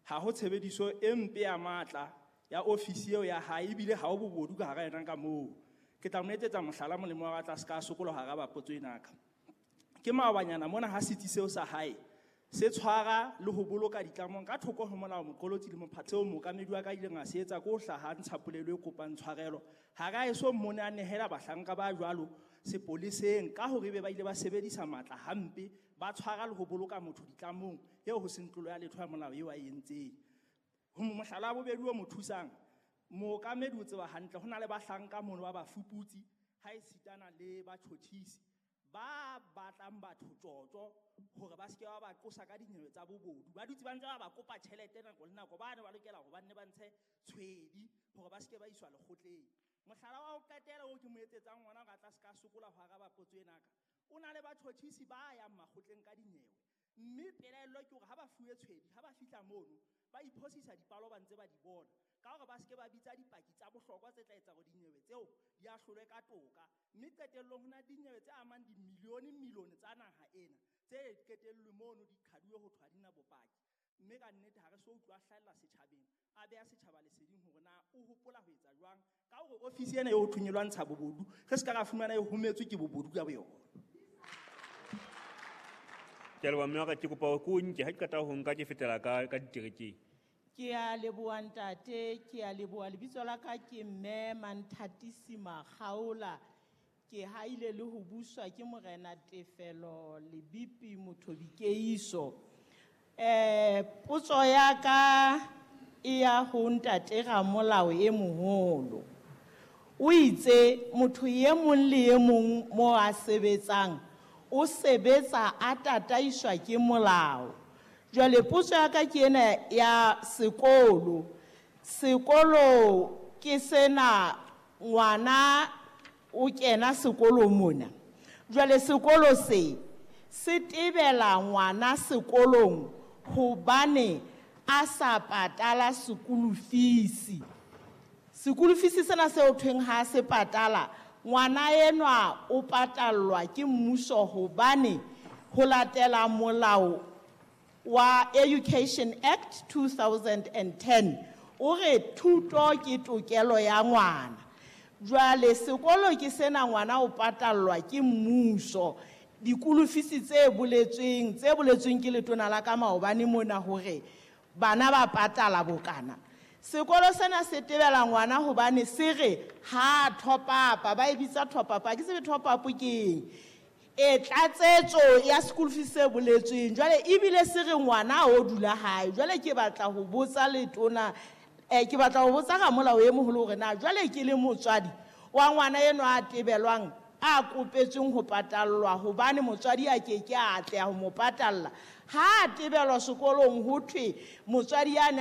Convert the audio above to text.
Ha ho tshebediso e mpe ya matla ya ofisi eo ya hae, ebile ha ho bobodu ka hara yona ka moo. Ke tla mo etsetsa mohlala molemo wa ka tla se ka sokola hara ba potso ena ka. Ke maobanyana mona ha setsi seo sa hae se tshwara le ho boloka ditlamong ka thoko ho molao moqolotsi le mophatho seo mookamedi wa ka ileng a se etsa ke ho hlaha ntsha polelo e kopang tshwarelo. Ha ra eso mmone a nehela bahlanka ba jwalo sepoleseng ka hore ebe ba ile ba sebedisa matla hampe, ba tshwara le ho boloka motho ditlamong eo ho seng tlolo ya letho ya molao eo a e entseng. Ho mohlala wa bobedi o mo thusang, mookamedi o tseba hantle ho na le bahlanka mono ba bafuputsi ha e sitana le batjhotjhisi ba batlang batho tjotjo hore ba seke ba ba qosa ka dinyewe tsa bobodu. Ba dutse ba ntse ba ba kopa tjhelete nako le nako, ba ne ba lokela hore ba nne ba ntshe tshwedi hore ba seke ba iswa lekgotleng. Mohlala wa ho qetela oo ke mo etsetsang ona hore a tla se ka sokola ho araba potso ena ka, o na le batjhotjhisi ba yang makgotleng ka dinyewe, mme pelaello ke hore ha ba fuwe tshwedi, ha ba fihla mono ba iphosisa dipalo ba ntse ba di bona ka hore ba seke ba bitsa dipaki tsa bohlokwa tse tla etsa hore dinyewe tseo di ahlolwe ka toka. Mme qetellong ho na le dinyewe tse amang dimilione-milione tsa naha ena tse qetellwe mono di qhaduwe ho thwe ha di na bopaki. Mme ka nnete ha re so utlwa hlahella setjhabeng, a beha setjhaba leseding hore na o hopola ho etsa jwang ka hore ofisi ena eo ho thweng e lwantsha bobodu, re se ka ra fumana e hometswe ke bobodu ka boyona. Ke a leboha mme wa ka, ke kopa hore ke o nke, ha ke qeta ho nka ke fetela ka diterekeng. Ke a leboha ntate, ke a leboha. Lebitso la ka ke mme Manthatisi Makgaola. Ke haile le ho buswa ke Morena Tefelo Lebipi Mothobi Keiso. Potso ya ka e ya ho ntate Ramolao e moholo. O itse motho e mong le e mong mo a sebetsang o sebetsa a tataiswa ke molao. Jwale potso ya ka ke ena ya sekolo. Sekolo ke sena, ngwana o kena sekolo mona. Jwale sekolo se se tebela ngwana sekolong hobane a sa patala school fees. School fees sena seo thweng ha se patala, ngwana enwa o patallwa ke mmuso hobane ho latela molao wa Education Act 2010 o re thuto ke tokelo ya ngwana. Jwale sekolo ke sena, ngwana o patallwa ke mmuso. Dikolo fees tse boletsweng ke letona la ka maobane mona hore bana ba patala bokana. Sekolo sena se tebela ngwana hobane se re ha top up, ba e bitsa top up, ha ke tsebe top up ke eng. E tlatsetso ya school fees e boletsweng. Jwale ebile se re ngwana o dula hae. Jwale ke batla ho botsa letona, ke batla ho botsa ramolao e moholo hore na jwale ke le motswadi wa ngwana enwa a tebelwang a kopetsweng ho patallwa hobane motswadi a ke ke a atleha ho mo patalla. Ha a tebelwa sekolong ho thwe motswadi ya ne